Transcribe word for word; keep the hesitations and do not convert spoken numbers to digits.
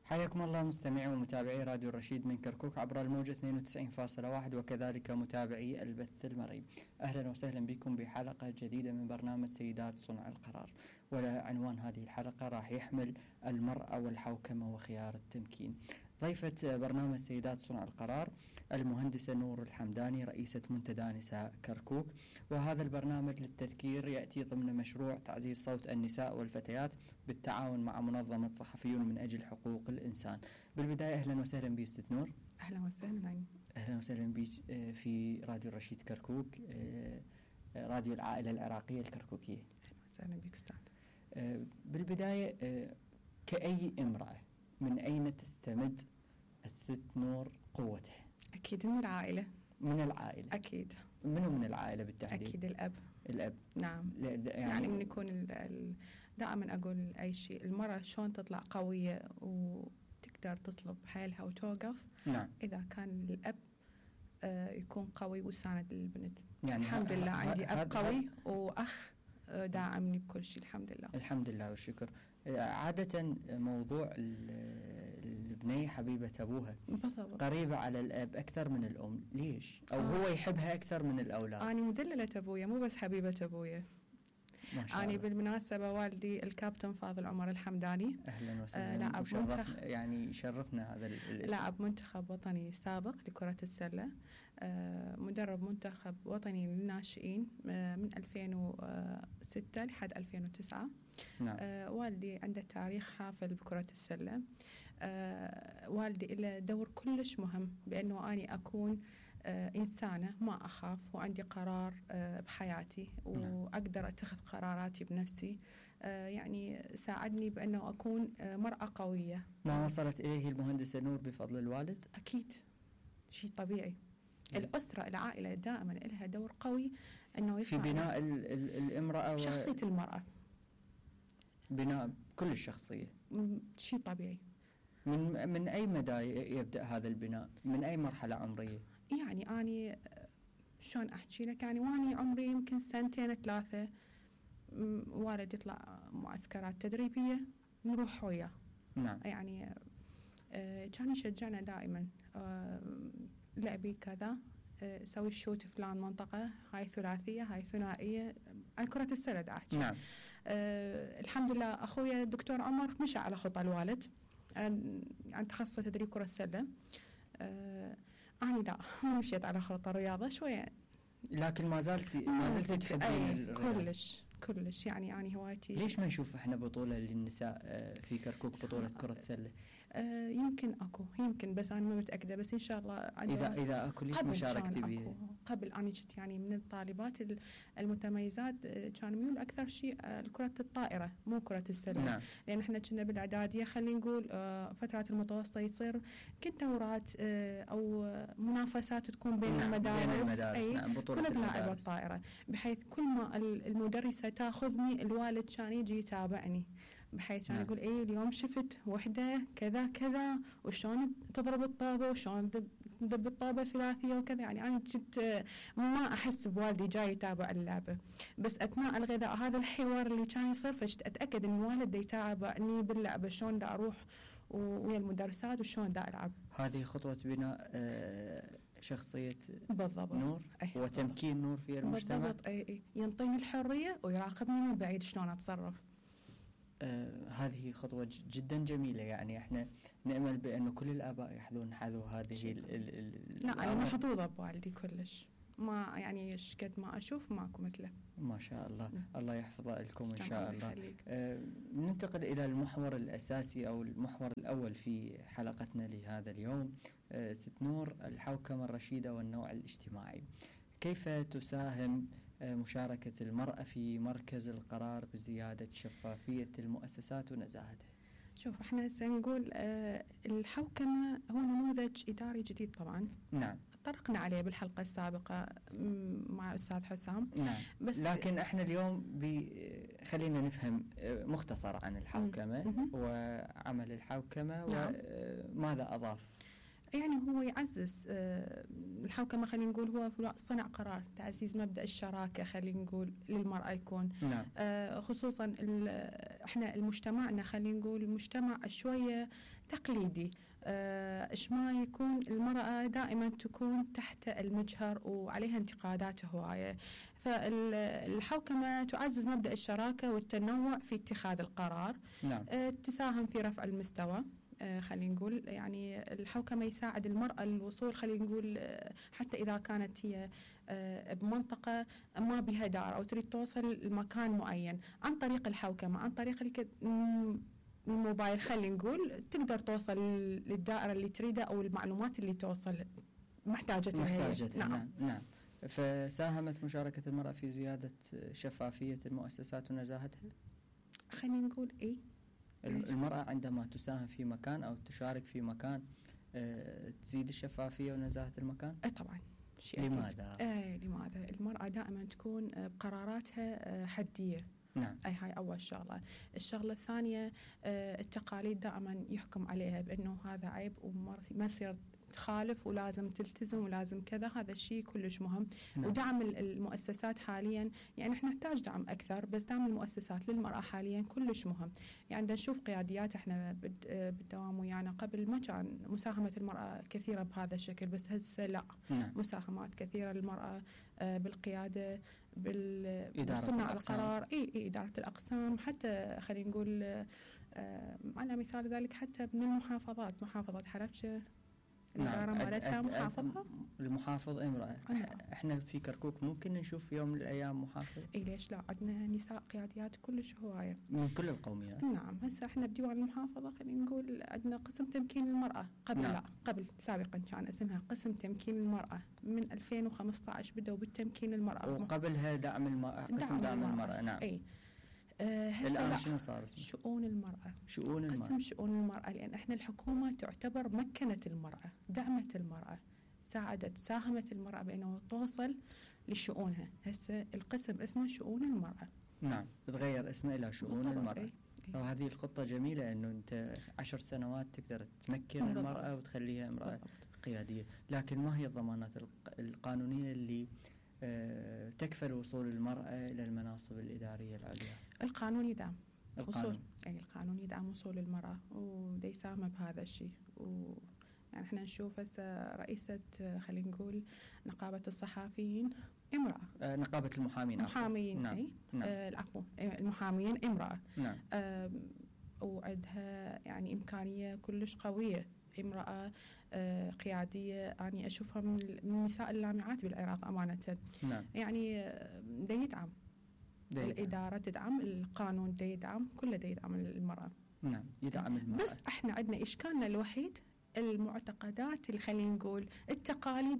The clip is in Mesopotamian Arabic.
حياكم الله مستمعي ومتابعي راديو الرشيد من كركوك عبر الموجة اثنين وتسعين فاصلة واحد وكذلك متابعي البث المرئي. أهلا وسهلا بكم بحلقة جديدة من برنامج سيدات صنع القرار، وعنوان هذه الحلقة راح يحمل المرأة والحوكمة وخيار التمكين. ضيفة برنامج سيدات صنع القرار المهندسة نور الحمداني رئيسة منتدى نساء كركوك، وهذا البرنامج للتذكير يأتي ضمن مشروع تعزيز صوت النساء والفتيات بالتعاون مع منظمة صحفيون من أجل حقوق الإنسان. بالبداية أهلا وسهلا بك ست نور. أهلا وسهلا. أهلا وسهلا بك في راديو الرشيد كركوك، راديو العائلة العراقية الكركوكية. أهلا وسهلا بك أستاذ. بالبداية كأي امرأة من أين تستمد الست نور قوتها؟ أكيد من العائلة. من العائلة أكيد. منو من العائلة بالتحديد؟ أكيد الأب. الأب. نعم. يعني, يعني من يكون ال ال دائما أقول أي شيء المرأة شلون تطلع قوية وتقدر تصلب حيلها وتوقف. نعم. إذا كان الأب آه يكون قوي وساند للبنت. يعني الحمد لله عندي أب قوي وأخ داعمني بكل شيء الحمد لله. الحمد لله والشكر. عادة موضوع البنية حبيبة أبوها بالضبط. قريبة على الأب أكثر من الأم، ليش؟ أو آه. هو يحبها أكثر من الأولاد؟ أنا مدللة أبويا مو بس حبيبة أبويا. أنا بالمناسبة والدي الكابتن فاضل عمر الحمداني. أهلا وسهلا. آه لاعب منتخب، يعني شرفنا هذا الاسم. لاعب منتخب وطني سابق لكرة السلة، آه مدرب منتخب وطني للناشئين آه من ألفين وستة لحد ألفين وتسعة. نعم. آه والدي عنده تاريخ حافل بكرة السلة. آه والدي له دور كلش مهم بأنه أني أكون آه إنسانة ما أخاف وعندي قرار آه بحياتي وأقدر أتخذ قراراتي بنفسي. آه يعني ساعدني بأنه أكون آه مرأة قوية. ما وصلت إليه المهندسة نور بفضل الوالد؟ أكيد شيء طبيعي. الأسرة العائلة دائما لها دور قوي أنه في بناء ال ال الامرأة شخصية و... المرأة، بناء كل الشخصية. شيء طبيعي. من من أي مدى يبدأ هذا البناء؟ من أي مرحلة عمرية؟ يعني أني شلون أحكي لك، يعني واني عمري يمكن سنتين ثلاثة والد يطلع معسكرات تدريبية نروح وياه. نعم. يعني آه كان يشجعنا دائما، آه لعبي كذا، آه سوي الشوت فلان منطقة، هاي ثلاثية هاي ثنائية، عن كرة السلة أحكي. نعم. آه الحمد لله أخويا الدكتور عمر مشى على خطى الوالد عن, عن تخصص تدريب كرة السلة. آه أنا لا ما مشيت على خطى الرياضة شوية، لكن ما زلت ما زلت تحبين الرياضة. كلش كلش يعني أنا هوايتي. ليش ما نشوف احنا بطولة للنساء في كركوك، بطولة كرة سلة؟ آه يمكن اكو يمكن بس انا ما متأكدة، بس ان شاء الله اذا اذا اكو ليش ما شاركتي بيه؟ قبل انا كنت يعني من الطالبات المتميزات، كان ميول اكثر شيء لكرة الطائرة مو كرة السلة. نعم. لان احنا كنا بالاعدادية خلينا نقول آه فترات المتوسطة يصير كنت دورات آه او منافسات تكون بين نعم. المدارس, بين المدارس. أي نعم. كنت لاعبة الطائرة، بحيث كل ما المدرسة تاخذني الوالد كان يجي يتابعني، بحيث كان نعم. يقول ايه اليوم شفت وحده كذا كذا وشلون تضرب الطابه وشلون تدب الطابه ثلاثيه وكذا. يعني انا كنت ما احس بوالدي جاي يتابع اللعبه، بس اثناء الغذاء هذا الحوار اللي كان يصير فشت اتاكد ان الوالد يتابعني باللعبه، شلون دا اروح ويا المدرسات وشلون دا العب. هذه خطوه بناء شخصيه بالضبط. نور أي وتمكين بالضبط. نور في المجتمع. بالضبط. اي اي ينطيني الحريه ويراقبني من بعيد شلون اتصرف. آه هذه خطوة جدا جميلة، يعني احنا نأمل بأنه كل الآباء يحذون حذو هذه ال ال ال لا أنا محظوظة بوالدي كلش، ما يعني ايش قد ما أشوف ماكو مثله. ما شاء الله. م. الله يحفظه لكم إن شاء الله. آه ننتقل إلى المحور الأساسي أو المحور الأول في حلقتنا لهذا اليوم. آه ست نور، الحوكمة الرشيدة والنوع الاجتماعي. كيف تساهم مشاركة المرأة في مركز القرار بزيادة شفافية المؤسسات ونزاهتها؟ شوف احنا هسه نقول اه الحوكمة هو نموذج إداري جديد طبعا. نعم. طرقنا عليه بالحلقة السابقة مع أستاذ حسام. نعم. بس لكن احنا اليوم خلينا نفهم مختصر عن الحوكمة م- وعمل الحوكمة. نعم. وماذا أضاف يعني هو يعزز الحوكمة، خلينا نقول هو صنع قرار، تعزيز مبدأ الشراكة خلينا نقول للمرأة يكون. نعم. خصوصا احنا المجتمعنا خلينا نقول مجتمع شوية تقليدي، ايش ما يكون المرأة دائما تكون تحت المجهر وعليها انتقادات هواية، فالحوكمة تعزز مبدأ الشراكة والتنوع في اتخاذ القرار. نعم. تساهم في رفع المستوى، خلينا نقول يعني الحوكمة يساعد المرأة الوصول، خلينا نقول حتى إذا كانت هي بمنطقة ما بها دار أو تريد توصل لمكان معين عن طريق الحوكمة، عن طريق الك... الموبايل خلينا نقول تقدر توصل للدائرة اللي تريدها أو المعلومات اللي توصل محتاجتها. محتاجتها. نعم. نعم. نعم. فساهمت مشاركة المرأة في زيادة شفافية المؤسسات ونزاهتها؟ خلينا نقول إيه، المرأة عندما تساهم في مكان أو تشارك في مكان أه تزيد الشفافية ونزاهة المكان؟ أه طبعا. لماذا؟ آه لماذا؟ المرأة دائما تكون بقراراتها حدية. نعم. أي هاي أول شغلة. الشغلة الثانية آه التقاليد دائما يحكم عليها بأنه هذا عيب وما يصير تخالف ولازم تلتزم ولازم كذا، هذا الشيء كلش مهم. نعم. ودعم المؤسسات حاليا، يعني احنا نحتاج دعم أكثر، بس دعم المؤسسات للمرأة حاليا كلش مهم. يعني نشوف قياديات احنا بالدوام ويانا قبل ما كان مساهمة المرأة كثيرة بهذا الشكل، بس هسه لا. نعم. مساهمات كثيرة للمرأة بالقيادة، بالصناع القرار، اي اي إدارة الأقسام، حتى خلينا نقول آه على مثال ذلك حتى من المحافظات، محافظة حلبشة الإدارة نعم. مالتها محافظة، المحافظ امرأة. احنا في كركوك ممكن نشوف يوم من الأيام محافظ؟ اي ليش لا، عندنا نساء قياديات كلش هواية من كل القوميات. نعم. هسه احنا بديوان المحافظة خلينا نقول عندنا قسم تمكين المرأة، قبل نعم. لا قبل سابقا كان اسمها قسم تمكين المرأة، من ألفين وخمسة عشر بدأوا بالتمكين المرأة، وقبلها دعم المرأة، قسم دعم, دعم المرأة. المرأة. نعم. اي آه الآن شنو صار اسمه؟ شؤون المرأة. شؤون المرأة. قسم شؤون المرأة، لأن احنا الحكومة تعتبر مكنت المرأة، دعمت المرأة، ساعدت، ساهمت المرأة بأنه توصل لشؤونها. هسه القسم اسمه شؤون المرأة. نعم. تغير اسمه إلى شؤون المرأة. إيه؟ وهذه الخطة جميلة، إنه أنت عشر سنوات تقدر تمكن بالضبط. المرأة وتخليها امرأة بالضبط. قيادية، لكن ما هي الضمانات القانونية اللي أه تكفل وصول المرأة إلى المناصب الإدارية العليا؟ القانون يدعم القانون. وصول، أي القانون يدعم وصول المرأة ودي يساهم بهذا الشيء. و يعني احنا نشوف هسه رئيسة خلينا نقول نقابة الصحفيين امرأة. آه نقابة المحامين. محامين. نعم. أي نعم. آه العفو المحامين امرأة. نعم. آه وعندها يعني إمكانية كلش قوية، امرأة آه قيادية، يعني أشوفها من النساء اللامعات بالعراق أمانة. نعم. يعني آه دا يدعم دي الإدارة، تدعم القانون، دا يدعم كله، دا يدعم المرأة. نعم. يدعم المرأة. بس احنا عندنا إشكالنا الوحيد المعتقدات اللي خلينا نقول التقاليد